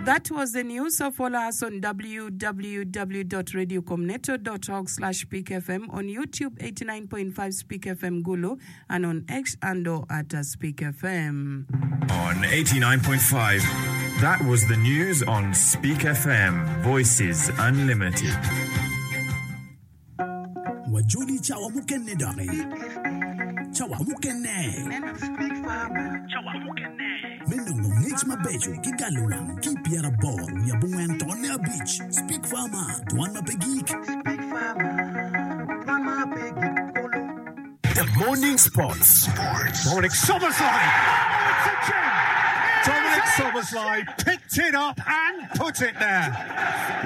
That was the news. So follow us on www.radiocomneto.org slash speakfm, on YouTube 89.5 Speak FM Gulu, and on X handle at Speak FM. On 89.5, that was the news on Speak FM, Voices Unlimited. Wajoli cawa mukene doki. Cawa mukene. Me nongo ngec mabeco ki galo wang ki i pyeraboro wiye abongwen tonne abic, Speak Farmer, Dwan ma pe gik. The Morning Sports. Dominic Szoboszlai! Oh, it's a gem! Dominic Szoboszlai picked it up and put it there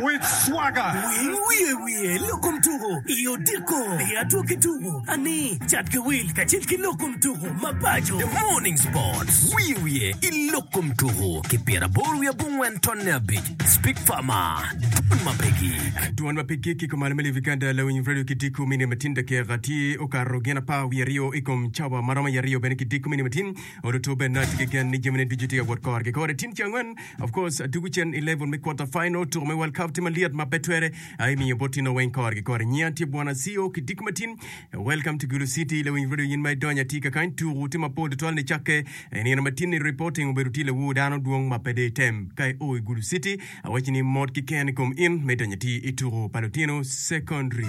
with swagger. Winy wiye wiye lok kom tuko i odiko i adwogi tuko ani cat ki wil kacel ki lok kom tuko ma paco. The Morning Sports. Wiye wiye i lok kom tuko ki pyeraboro wiye abongwen tonne abic. Speak Farmer, Dwon ma pe gik. Dwon ma pe gik i kom malo me Live Uganda lawiny radio ki diko mine matin dakika tye okato gin apar wiye aryo i kom cawa ma romo i aryo bene ki diko mine matin oluto bene tye ki gen ni jamine ducu tye ka wot kore ki kore tin ce angwen of course dugu cen i level me quarter final tuko me World Cup tye malyet ma pe twere aye miyo bot tino weng kore ki kore nyinga tye Bwana CEO ki diko matin Welcome to Gulu City lawiny radio in ma idonyo atir kakany tuku tye mapol tutwal nicakke i nino matin ni reporting obedo tye lawur dano dwong ma pe de item ka io i Gulu City awaci ni mot kiken i kom in me donyo atir i tuku pa lutino secondary.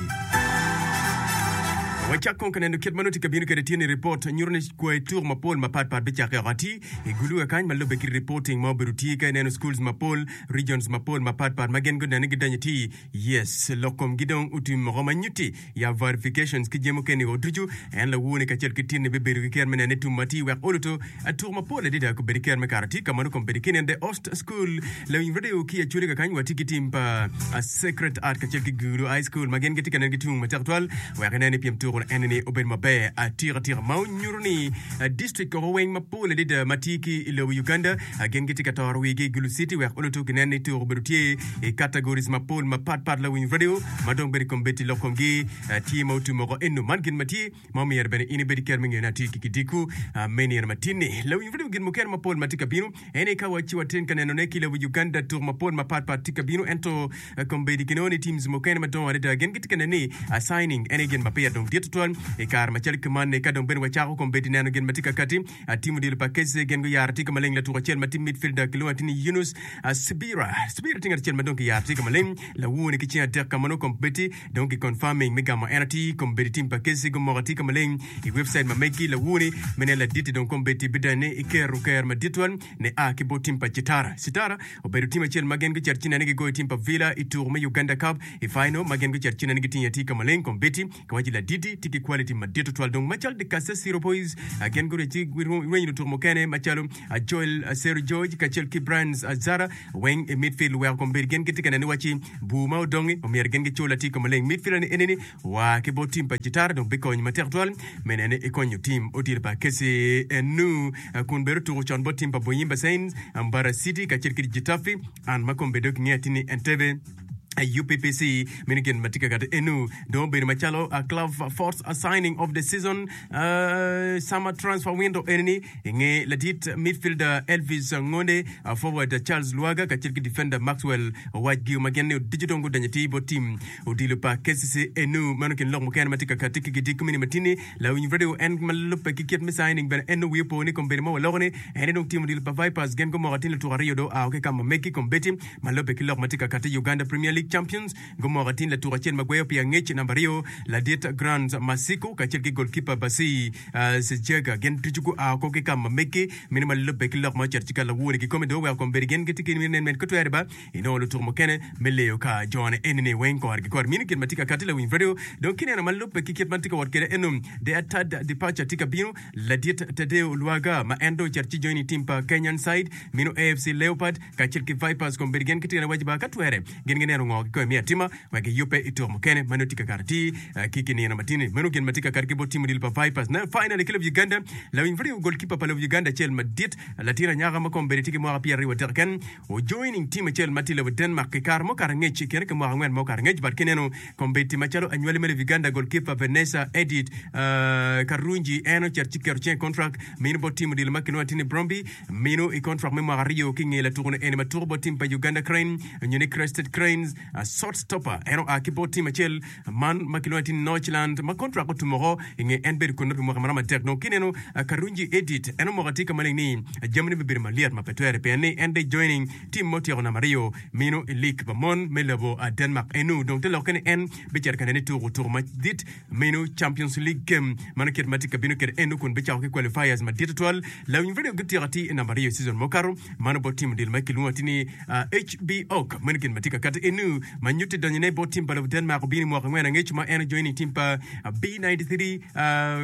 Wacak kong ka neno kit ma nongo tye ka bino kwede tye ni report nyuto ni kwai tuku mapol mapat pat bicakke oko atir i Gulu kakany ma lubbe ki reporting ma obedo tye ka ineno schools mapol regions mapol mapat pat ma gin guneno ni gidonyo atir Yes, lok komgi dong otim moko ma nyutti ya verifications ki jami mukene o ducu. En lawoni kacel ki tinni bibedo ki ker me nene tum matir wek oluto atuk mapol adada kobedi ker me kare tye ka ma nongo kombeddi ki nene The Ost School lawiny radio ki Acholi kakany watye ki tim pa Sacred Art kacel ki Gulu High School ma gin gitye ka neno ki tung matek twal wek inen ni pyem tuko eni ni obedo maber atika tika ma onyuto ni district koko weng mapol adada ma tye ki i lobo Uganda Gin gitye ka toro wigi i Gulu City wek oluto ginen ni tuko obedo tye i categories mapol mapat pat lawiny radio ma dong bedo i kom bedi lok komgi tye ma otum woko eno man gin ma tye ma omyero bene in ibed ki ker me ngeyone atir ki kidiku me nino matin-ni. Lawiny radio gin mukene mapol ma tye ka bino en aye ka wa ci watin ka nenone ki lobo Uganda tuko mapol mapat pat tye ka bino ento kombeddi kinongo ni teams mukene madongo adada gin gitye ka neno ni signing en aye gin ma peya dong dit tutwal i kare macalo kuman-ni ka dong bene wacako kombeddi neno gin ma tye ka kati Atimo dilo pa Kece gin guyaro atika maleng latuko acel ma tye midfielder kilwongo atir ni Yunus Sibira. Sibira tye ngat acel ma dong kiyaro atika maleng lawone ki ceng adek ka ma nongo kombeddi dong ki confirming me gamo en atir kombeddi tim pa Kece gumoko atika maleng i website ma megi lawone me nen laditi dong kombeddi bidane i kero ker madit twal ne a ki bot tim pa Citara. Citara obedo tim acel ma gin gucito ci nene gigoyo tim pa Villa i tuko me Uganda Cup i final ma gin gucito ci nene gitingo atika maleng kombeddi Kiwaco laditi tye ki quality madit tutwal dong macalo The Kasasiro Boys gin gurye ci girwenyo lutuko mukene macalo Joel Sero George kacel ki Brian Zara weng i midfield weko kombeddi gin gitye ka neno ni waci bur ma odongi omyero gin gicul atika maleng. Midfielder ni enini wa ki bot team pa Citara dong bikonyo matek tutwal me neno ni ekonyo team odilo pa Kesi enu kun bene otuko con bot team pa Boyimba Saints, Mbara City kacel ki Gitafi an ma kombeddi dong kingeyo atir ni Entebbe. UPPC meno gin ma tye ka kati enu dong obedo macalo a club fourth signing of the season uh, summer transfer window enini inge ladit midfielder Elvis Ngonde uh, forward Charles Lwaga kacel ki defender Maxwell Owacgio ma gin ni ducu dong gudonyo atir bot team odilo pa KCC enu meno kin lok mukene ma tye ka kati ki gidiko mini matini lawiny radio en ma lubbe ki kit me signing bene en wiye opo ni kombeddi ma waloko ni en dong team odilo pa Vipers gin gumoko atin lutuko aryo dong oa ki ka ma megi kombeddi Ma lubbe ki lok ma tye ka kati Uganda Premier League Champions, gumoko atin latuko acel ma gweyo pi angec namba aryo, ladit Grant Masiko kacel ki golkipa Basi Sejega gin ducu gua oko ki ka ma megi. Meno ma lubbe ki lok ma ocito ci ka lawor-ri kikome dong oweko kombeddi gin gitye ki nen med kotwere ba inongo lutuko mukene me leyo ka jone eni-ni weng kore ki kore. Mino gin ma tye ka kati lawiny radio dong kineno ma lubbe ki kit ma tye ka wot kwede eno The Third Departure tye ka bino ladit Tadeo Lwaga ma en dong ocito ci join i team pa Kenyan side mino AFC Leopard kacel ki Vipers kombeddi gin gitye ka waco ba ka twere gin gineno. ngo kikome me atima wek giyubbe i tuko mukene ma nongo tye ka kato atir ki ki nino matini. Meno gin ma tye ka kato ki bot tim odilo pa Vipers. Now finally ki lobo Uganda, lawiny pud goalkeeper pa lobo Uganda acel madit, latin anyaka ma kombeddi tye ki mwaka pyeraryo adek keken, ojoining team acel ma tye i lobo Denmark i kare mukato angec i kine ki mwaka angwen ma okato angec but ki neno kombeddi macalo anywali me lobo Uganda goalkeeper Vanessa Edith Karungi en ocito ci keto cinge i contract mino bot team odilo ma kilwongo atir ni Bromby mino i contract me mwaka aryo ki nge latuko ni eni ma tuko bot team pa Uganda Crane nyo ni Crested Cranes short stopper en oa ki bot team acel man ma kilwongo atir ni Northland ma contract otum oko i nge en bedo kunnu pi mwaka maromo adek. Dong kineno Karungi Edith en omoko atir ka maleng ni jamine bibedo malyet ma pe twere pien ni en dong joining team ma otyeko namba aryo mino i lig pa mon me lobo Denmark enu. Dong te lokke ni en bicito ka nene tuko tuko madit meno Champions League game mano kit ma tye ka bino kwede enu kun bicako ki qualifiers madit tutwal. Lawiny radio gutyeko atir i namba aryo i season mukato mano bot team odilo ma kilwongo atir ni HB Ok meno gin ma tye ka kati enu ma nyutti donyone bot team pa lobo Denmark obino i mwaka angwen angec ma en ojoining team pa B93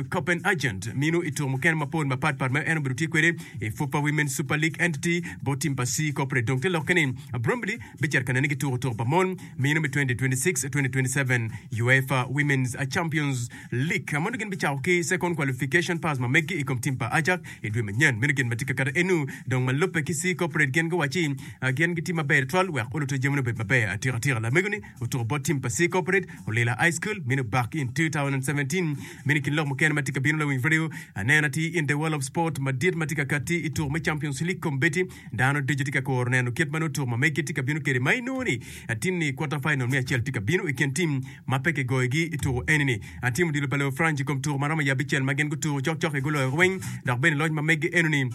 Copenhagen mino i tuko mukene mapol mapat pat ma en obedo tye kwede i FUFA Women's Super League Entity bot team pa C Corporate. Dong te lokke ni Bromley bicito ka nene ki tuko tuko pa mon mino me 2026-2027 UEFA Women's Champions League. Mono gin bicako ki second qualification pass ma meggi i kom team pa Ajax i dwe manyen. Meno gin ma tye ka kato enu. Dong ma lubbe ki C Corporate gin guwacci gin gitye maber twal wek oluto jamine obed maber atika tika. Lamego ni otuko bot team pa C Corporate Olila High School meno back in 2017. Meno i kin lok mukene ma tye ka bino lawiny radio anena tye in the world of sport madit ma tye ka katti i tuko me Champions League kombeddi. Dano ducu tye ka kuro neno kit ma nongo tuko ma meggi tye ka bino kwede ma inongo ni atinni quarter final me acel tye ka bino i kin tim ma pe kigoyogi i tuko eni-ni. Tim odilo pa lobo France i kom tuko ma romo i abicel ma gin gutuko cokcok-ki guloyo weng dok bene loc ma meggi eno-ni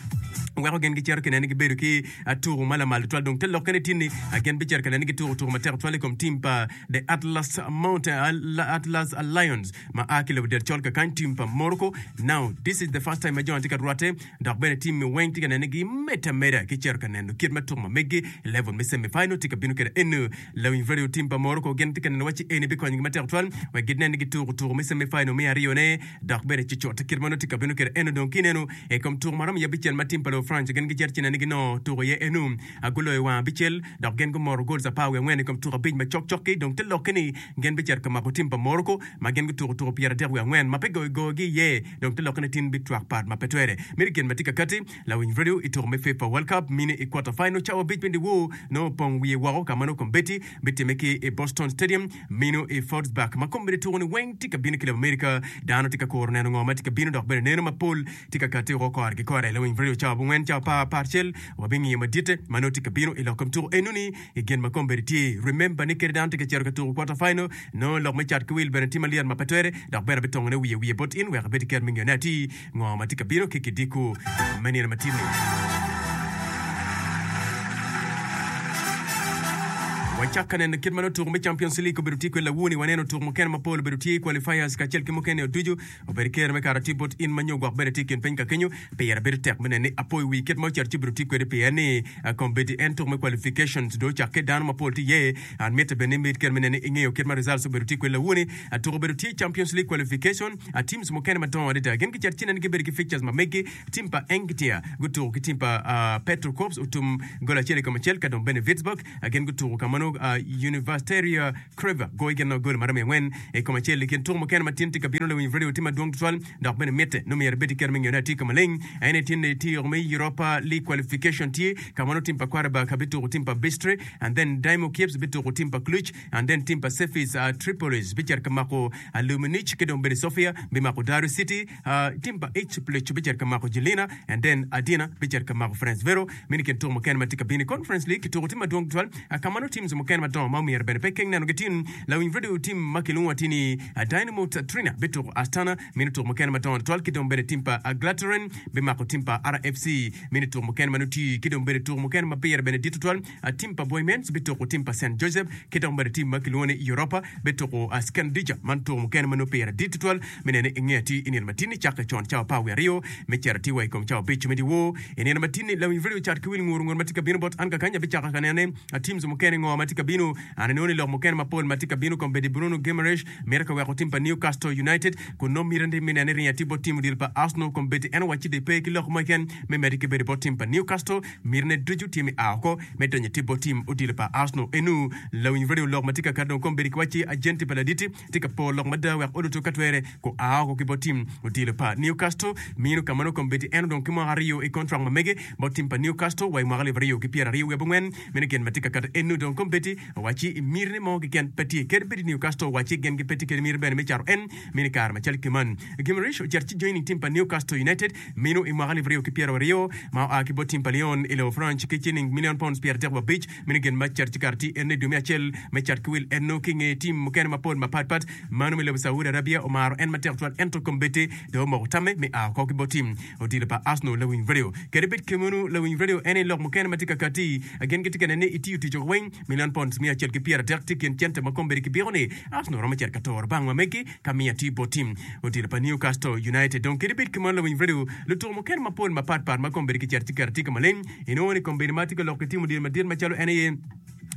weko gin gicito ki nene gibedo ki tuko ma lamal tutwal. Dong te lokke ni tinni gin bicito ka nene gituko tuko matek tutwal i kom tim pa The Atlas Mountain, Atlas Lions ma a ki lobo del col kakany, tim pa Morocco. Now this is the first time ma jo-ni tye ka rwatte dok bene tim-mi weng tye ka nene gimedde ameda ki cito ka neno kit ma tuko ma meggi i level me semi final tye ka bino kwede. Eno Lawiny radio tim pa Morocco gin tye ka neno wacci eni bikonyogi matek tutwal wek ginen ni gituko tuko me semi final me aryone dok bene cucut kit ma nongo tye ka bino kwede. Eno dong kineno i kom tuko ma romo i abicel ma tim pa lobo France gin gicito ci neno ni ginongo tuko iye eno guloyo wang abicel dok gin gumoro goals apar wiye angwen i kom tuko abic ma cokcok-ki. Dong te lokke ni gin bicito ka mako tim pa Morocco ma gin gutuko tuko 33 ma pe goyogi iye. Dong te lokke ni tin bitwak pat ma pe twere. Meno gin ma tye ka kati. Lawiny radio i tuko me FIFA World Cup mine i quarter final cawa abic me dyewor nongo opong wiye woko ka ma nongo kombeddi bitimme ki i Boston Stadium mino i Fordsburg ma kombeddi tuko ni weng tye ka bino ki lobo America. Dano tye ka kuro neno ngo ma tye ka bino dok bene neno mapol tye ka kati woko kore ki kore. Lawiny radio cawa abongwen cawa apar parcel wabingiyo maditte ma nongo tye ka bino i lok kom tuko enoni i gin ma kombeddi tye. Remember ni kadi dano tye ka cito ka tuko quarter final nongo lok me cat ki wil bene tye malyet ma pe twere dok bene abitongone wiye wiye bot in wek ibed ki ker me ngeyone atir. Ngo ma tye ka bino ki kidiko me nino matin-ni? Wacak ka neno kit ma nongo tuko me Champions League obedo tye kwede lawoni. Waneno tuko mukene mapol obedo tye, qualifiers kacel ki mukene ducu. Obedo kero me kato tye bot in ma nyo gwok bene tye i kin piny ka kenyo. Pire bedo tek me neno ni apoyo wi kit ma ocito ci obedo tye kwede pien ni kombeddi en tuko me qualifications dong ocakke dano mapol tye iye. An mitte bene ni imed kero me neno ni ingeyo kit ma results obedo tye kwede lawoni. Tuko obedo tye Champions League qualification. A Teams mukene madongo adada gin gicito ci nen gibedo ki fixtures ma megi. Team pa Engitia gutuko ki team pa Petro Corps otum gol acel i kom acel ka dong bene Würzburg gin gutuko ka ma nongo Universitaria Creva goyo gin nongo gol maromo i angwen i kom acel. I kin tuko mukene ma tin tye ka bino lawiny radio tye madwong tutwal dok bene mitte nongo myero ibed ki kero me ngeyone atir ka maleng aye ni tin tye me Europa League qualification tye ka ma nongo team pa Qarabag bituko team pa Bistre and then Dynamo Kiev bituko team pa Cluj and then team pa Sefis Tripolis bicito ka mako Aluminij ki dong bene Sofia bimako Daru City, team pa Ipswich bicito ka mako Jelina and then Adina bicito ka mako Ferencvero. Meno i kin tuko mukene ma tye ka bino i Conference League ki tuko tye madwong tutwal ka ma nongo teams mukene madongo ma omyero bene pe keng nenogi tin. Lawiny radio team ma kilwongo atir ni Dynamo Trina bituko Astana meno tuko mukene madongo tutwal ki dong bene team pa Glateren bimako team pa RFC meno tuko mukene ma nongo tye ki dong bene tuko mukene ma pire bene dit tutwal Tim pa Bohemians bituko tim pa Saint Joseph ki dok bene tim ma kilwongo ni Europa bituko Skandija. Man tuko mukene ma nongo pire dit tutwal me nene i nge atir i nino matin-ni cakke con cawa apar wiye aryo me cito atir wa i kom cawa abic me dyewor. I nino matin-ni, lawiny radio cat ki wil nguru nguru ma tye ka bino bot an kakany abicako ka nene teams mukene ngo ma tye. tye ka bino. An inongo ni lok mukene mapol ma tye ka bino kombeddi Bruno Guimaraes mito ka weko tim pa Newcastle United kun nongo miti me nene ringo atir bot tim odilo pa Arsenal kombeddi en owacci dong pe ki lok mo keken me medde ki bedo bot tim pa Newcastle mitine ducu tye me a oko me donyo atir bot tim odilo pa Arsenal. Enu lawiny radio lok ma tye ka kato dong kombeddi kiwacci ajenti pa laditi tye ka poro lok mada wek oluto ka twere gua oko ki bot tim odilo pa Newcastle. Mino ka ma nongo kombeddi en odong ki mwaka aryo i kontrak ma mege bot tim pa Newcastle wa i mwaka 2024. Meno gin ma tye ka kato eno dong kombeddi owacci i mitine mo keken pe tye. Kadi bed Newcastle owacci gin gipe tye kede miti bene me cato en meno i kare macalo ki man. Guimaraes ocito ci joining tim pa Newcastle United meno i mwaka 2020 ma oa ki bot tim pa Lyon i lobo France ki ciling milion pounds 35. Meno gin ma cito ci kare tye eno i dwe me acel me cat ki wil eno ki nge tim mukene mapol mapat pat. Mano me lobo Saudi Arabia omaro en matek twal ento kombeddi dong omoko tamme me a oko ki bot tim odilo pa Arsenal lawiny radio. Kadi bed kemeno lawiny radio en aye lok mukene ma tye ka kati. Gin gitye ka nene ni itiyo tic oko weng milion pounds 130 tye kin cente ma kombeddi kibiko ni Arsenal romo cito ka toro bang ma megi ka miyo atir bot tim odilo pa Newcastle United. Dong kadi bed kemeno lawiny radio lutuko mukene mapol mapat pat ma kombeddi kicito ci keto tye ka maleng Inongo ni kombeddi ma atye ka lok ki tim odilo madit macalo en aye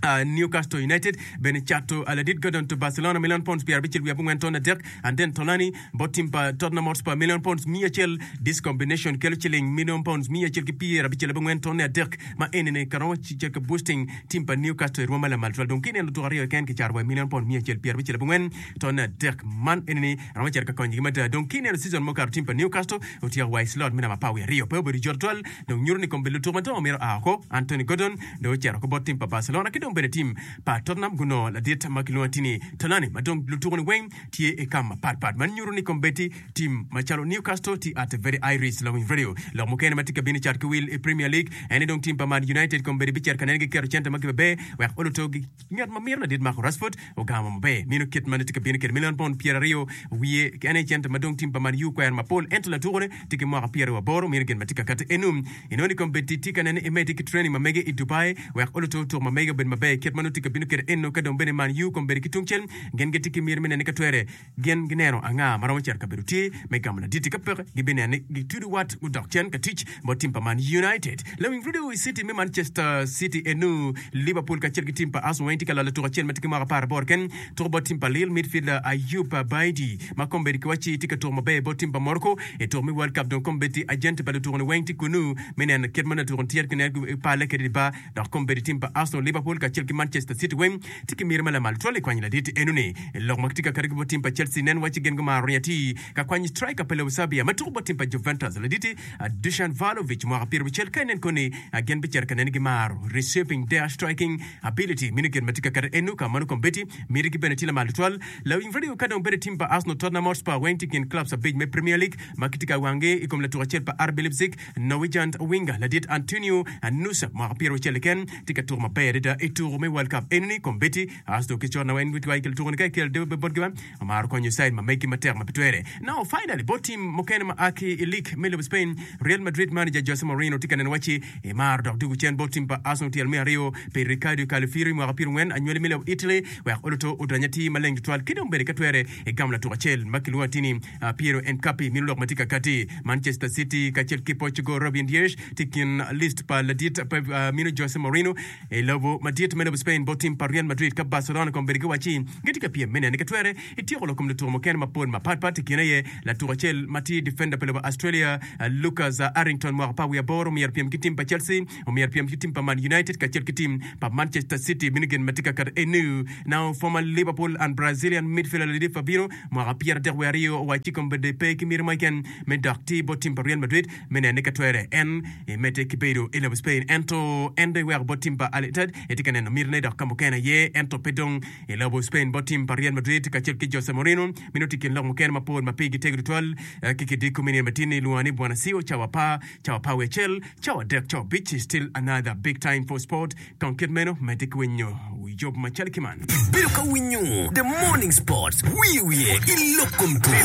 Newcastle United bene cato ladit Gordon to Barcelona milion pounds 64 ton adek and then Tonali bot tim pa Tottenham Hotspur milion pounds 100. This combination kelo ciling milion pounds 194 ton adek ma enini ka romo cito ka boosting tim pa Newcastle i rwom ma lamal twal. Dong ka ineno lutuko aryo keken kicato wa i milion pounds 194 ton adek man enini romo cito ka konyogi mada. Dong ka ineno season mukato tim pa Newcastle otyeko wa i slot me namba apar wiye aryo pe obedo jot twal. Dong nyuto ni kombeddi lutuku madongo myero oa oko. Anthony Gordon dong ocito oko bot tim pa Barcelona ki dong bene tim pa Tottenham gunongo ladit ma kilwongo atir ni Tonali ma dong lutuku-ni weng tye i kam mapat pat. Man nyuto ni kombeddi tim macalo Newcastle tye at a very high risk. Lawiny Radio. Lok mukene ma tye ka bino i cat ki wil i Premier League en ni dong tim pa Man United kombeddi bicito ka nene giketo cente ma gimaber wek oluto Ngat ma mito ladit Marco Rashford ogamo maber meno kit ma tye ka bino kwede milion pound 20 wiye en aye cente ma dong tim pa Man U kwero mapol ento latukone tye ki mwaka 28 meno gin ma tye ka kati enu. Inongo ni kombeddi tye ka nene emedde ki training ma mege i Dubai wek oluto tuko ma mege obed maber kit ma nongo tye ka bino kwede enu ka dong bene Man U kombeddi ki tungcel gin gitye ki miti me nene ka twere Gin gineno anga ma romo cito i kabedo tye me gamo ladit-ti. Ka peke, gibineno ni gitudo wat gudok cen ka tic bot tim pa Man United. Lawiny Radio i citi me Manchester City enu, Liverpool kacel ki tim pa Arsenal weng tye ka lalo tuko acel ma tye ki mwaka 18 keken. Tuko bot tim pa Lille midfielder Ayoub Baidi ma kombeddi kiwacci tye ka tuko maber bot tim pa Morocco i tuko me World Cup. Dong kombeddi ajenti pa lutuko-ni weng tye kunu me neno kit ma latuko-ni tye ki pale kwede i bar. Dok kombeddi tim pa Arsenal, Liverpool kacel ki Manchester City weng tye ki miti ma lamal tutwal i kwanyo ladit enoni. Lok ma kitye ka kati ki bot tim pa Chelsea nen wacci gin gumaro ringo atir ka kwanyo striker pa lobo Serbia ma tuko bot tim pa Juventus laditi Dusan Vlahovic mwaka pyerabicel ka inen koni gin bicito ka neni gimaro reshaping their striking ability meno gin ma tye ka kati eno ka mano kombeddi mitigi bene tye lamal tutwal. Lawiny radio ka dong bedo tim pa Arsenal, Tottenham Hotspur weng tye kin clubs abic me Premier League ma kitye ka wangi i kom latuko acel pa RB Leipzig Norwegian winger ladit Antonio Nusa mwaka pyeraucel keken tye ka tuko maber adada i tuko me World Cup enoni kombeddi Arsenal ki cot na weng gitye ka tuko ni ka ikel debe botgi ba omaro konyo side ma megi matek ma pe twere. Now finally bot team mukene ma a ki i league me lobo Spain Real Madrid manager Jose Mourinho tye ka neno wacci emaro dok dugo cen bot team pa Arsenal tyelo me aryo pi Riccardo Calafiori mwaka pyerangwen anywali me lobo Italy wek oluto odony atir maleng tutwal ki dong bene ka twere egamo latuk acel ma kilwongo atir ni Piero Encapi mino lok ma tye ka kati. Manchester City kacel ki Portugal Ruben Dias tye i kin list pa ladit pa mino Jose Mourinho i lobo madit me lobo Spain bot tim pa Real Madrid ka Barcelona kombeddi giwacci gitye ka pyem me nene ka twere ityeko lok kom lutuko mukene mapol mapatpat i kine aye latuko acel ma tye defender pa lobo Australia Lucas Arrington mwaka apar wiye aboro omyero pyem ki tim pa Chelsea omyero pyem ki tim pa Man United kacel ki tim pa Manchester City mino gin ma tye ka kati enu. Now former Liverpool and Brazilian midfielder ladit Fabinho Mwaka pyeradek wiye aryo owacci kombeddi pe ki miti mo keken me dok tye bot tim pa Real Madrid me nene ka twere en emedde ki bedo i lobo Spain. Ento en dong eweko bot tim pa Al Ittihad etye ka neno mitine dok ka mukene aye ento pe dong i lobo Spain bot tim pa Real Madrid kacel ki Jose Mourinho. Meno tye i kin lok mukene mapol ma pigi tego tutwal ki kidiko me nino matin-ni ilwongo ni Bwana Sio cawa apar, cawa apar wiye acel, cawa adek, cawa abic still another big time for sport. Kong kit meno, medde ki winyo yub macalo ki man. Ibedo ka winyo The Morning Sports wiye wiye i lok kom tuko.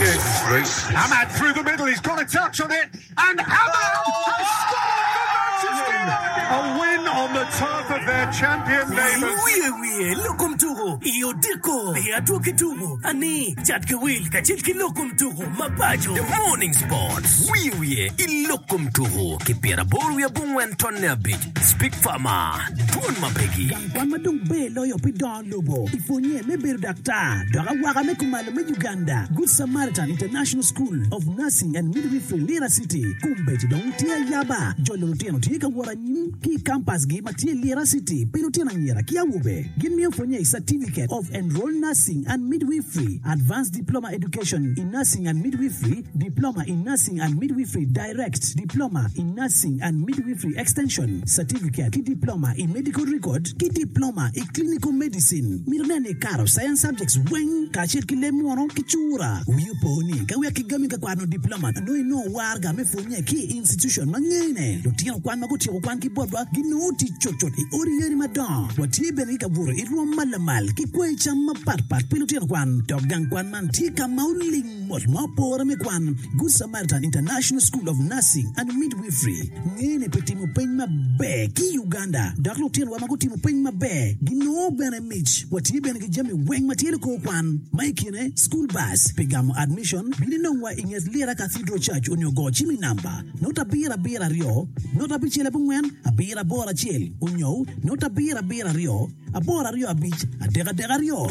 Amad through the middle, he's got a touch on it and Amad has scored for Manchester United! A win on the turf of their. their champion neighbours. Wiye wiye lok kom tuko i odiko pi adwogi tuko ani cat ki wil kacel ki lok kom tuko ma paco. The Morning Sports, Wiye wiye i lok kom tuko ki pyeraboro wiye abongwen tonne abic, Speak Farmer, Dwon ma pegi. Gang kwan ma dong ber loyo pi dongo lobo i pwonye me bedo daktar dok awaka me kumalo me Uganda, Good Samaritan International School of Nursing and Midwifery Lira City, kombeddi dong tye ayaba. Jolo lutino tye ka wot anyim ki i kampasgi ma tye i Lira City pi lutino anyira ki awobe. Gin miyo pwonye i Certificate of Enrolled Nursing and Midwifery, Advanced Diploma Education in Nursing and Midwifery, Diploma in Nursing and Midwifery Direct, Diploma in Nursing and Midwifery Extension, Certificate ki Diploma i Medical Record ki Diploma i Clinical Medicine. Mito nen ni ikato Science Subjects weng kacel ki leb munu ki cura. Wi opo ni ka wek kigami ka kwano diploma nongo inongo waraga me pwonye ki i institution ma ngene. Lutino kwan ma gutyeko kwan ki botwa ginongo tic cutcut i odi yadi madongo. Watye bene ki kabuto i rwom ma lamal ki kwayi cam mapat pat pi lutino kwan. Dok gang kwan man tye ka ma oling mot ma opore me kwan. Good Samaritan International School of Nursing and Midwifery ngene pi timo peny maber ki i Uganda dok lutinowa ma gutimo peny maber ginongo bene mic. Watye bene ki jami weng ma tye likor kwan ma i kine school bus pi gamo admission. Bin inongwa i nget Lira Cathedral Church onyo go cim i namba not abiro abiro aryo not abicel abongwen abiro aboro acel onyo not abiro abiro aryo aboro aryo abic adek adek aryo.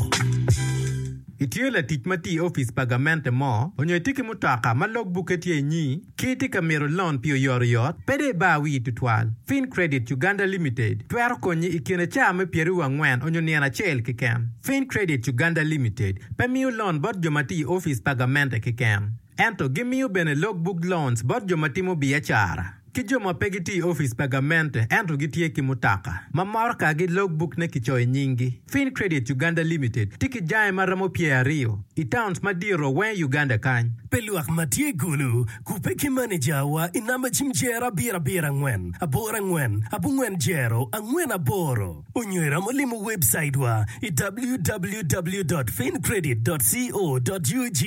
Itye latic ma tye i opic pa gamente mo, onyo itye ki mutoka ma log bukke tye inyi, ki itye ka mito lon pi oyotoyot, pe dong ibar wii tutwal. Fincredit Uganda Limited twero konyi i kine caa me pyeraryo angwen onyo nino acel keken. Fincredit Uganda Limited pe miyo lon bot jo ma tye i opic pa gamente keken, ento gimiyo bene log book loans bot jo ma timo biacara. Ki jo ma pe gitye i opic pa gamente ento gitye ki mutoka ma morokagi logbook-ne kicoyo nyinggi. Fincredit Uganda Limited tye ki jange ma romo pyeraryo i towns madito weng i Uganda kany. Pi lwak ma tye i Gulu, kubbe ki manejawa i namba cim jero abiro abiro angwen aboro angwen abongwen jero angwen aboro onyo iromo limo webcaitwa i www dot fincredit dot co dot ug.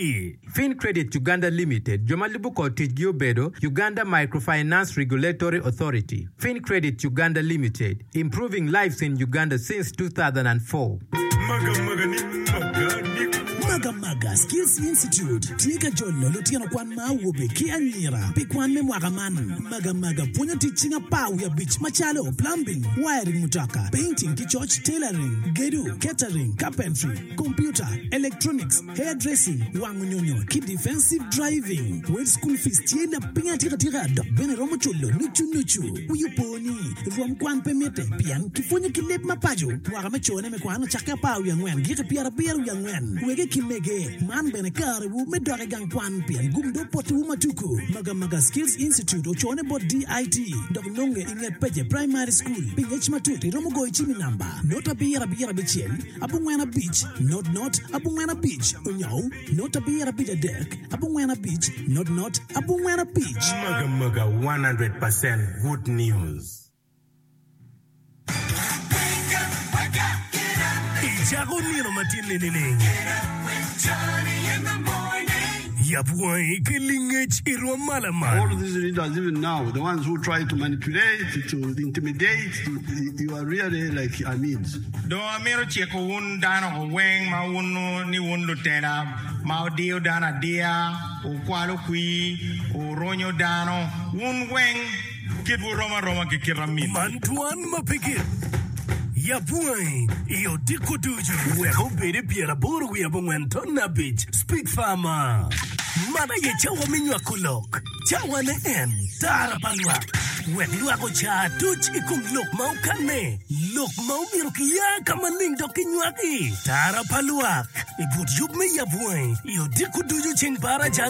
Fincredit Uganda Limited, jo ma lubo kor ticgi obedo, Uganda Microfinance Regulatory Authority, Fincredit Uganda Limited, improving lives in Uganda since 2004. Magamaga Skills Institute tye ka jolo lutino kwan ma awobe ki anyira pi kwan me mwaka man. Magamaga pwonyo tic cing apar wiye abic macalo, plumbing, wiring mutoka, painting ki coc, tailoring, gedo, catering, carpentry, computer, electronics, Hair dressing, wango nyonyo, ki defensive driving. Wel school fees tye lapiny atika tika dok bene romo culo nucu nucu. Wi opo ni, rwom kwan pe mitte pien kipwonyo ki leb ma paco. Mwaka me cone me kwan ocakke apar wiye angwen giki pyerabiro wiye angwen. Wege ki mege, man bene karewu me dok i gang kwan pien gum dong potiwu ma tuku. Magamaga Skills Institute ocone bot DIT dok nonge i nget Pece Primary School. Pi ngec matut iromo goyo cim i namba not abiro abiro abicel abongwen abic, not not, abongwen abic, onyo, not abiro abic adek, abongwen abic, not not, abongwen abic. Magamaga 100% good news. Icako nino matin-ni nining? Yab wangi ki lingec i rwom ma lamal. All these leaders even now, the ones who try to manipulate, to intimidate, to, you are really like Amins. Dong amito ciko wun dano weng ma wunnu ni wun lutela ma wudiyo dano adiya, wukwalo kwir, wurunyo dano, wun weng kitwu rom aroma ki kit amin. Man dwan ma pe gik. Yab wangi i odiko ducu wek obed i pyeraboro wiye abongwen ton abic. Speak Farmer. Man aye cawa me nywako lok. Cawane en tara pa lwak. Wek lwak oca aduc i kom lok ma okanne, lok ma omyero kiya ka maleng dok kinywaki. Tara pa lwak i but yub me yab wangi i odiko ducu ceng baraja ni.